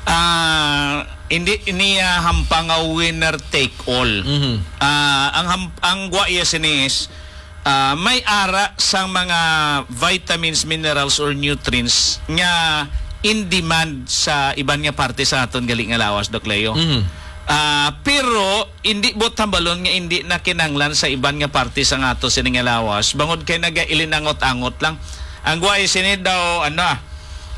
ah, hindi niya hampang nga winner take all. Mhm. Ah, ang ham-, ang gwa iya sini is, ah, may ara sang mga vitamins, minerals, or nutrients nga in demand sa iban nga parte sa aton gali nga lawas, Doc Leo. Mhm. Ah, pero hindi buot tambalon nga hindi na kinanglan sa iban nga parte sa nga ato sini nga lawas, bangod kay nagailinangot-angot lang. Ang gwa sini daw, ano,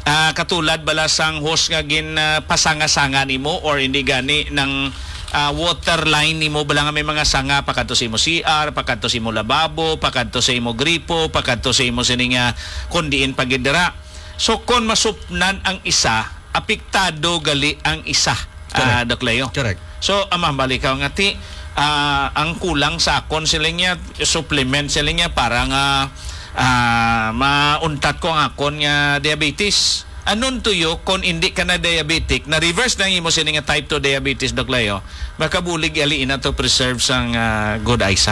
ah, katulad bala sang hose nga gin, ah, pasanga-sanga nimo or hindi gani ng, ah, water line nimo bala nga may mga sanga pakadto sa imo C R, pakadto sa imo lababo, pakadto sa imo gripo, pakadto sa imo sini nga kun diin pa gid dira. So, kon masupnan ang isa, apektado gali ang isa, ah, Correct. Doc Leo. Correct. So, ama, balik ka nga ti, ah, ang kulang sa akon sila niya, supplement sila niya para nga, ah, mauntat ko ang akon nga diabetes. Anon tuyo, kung hindi ka na diabetic, na-reverse na ang imo sini nga type two diabetes, Doc Leo, makabulig ali ina to preserve sang, ah, good eyesight.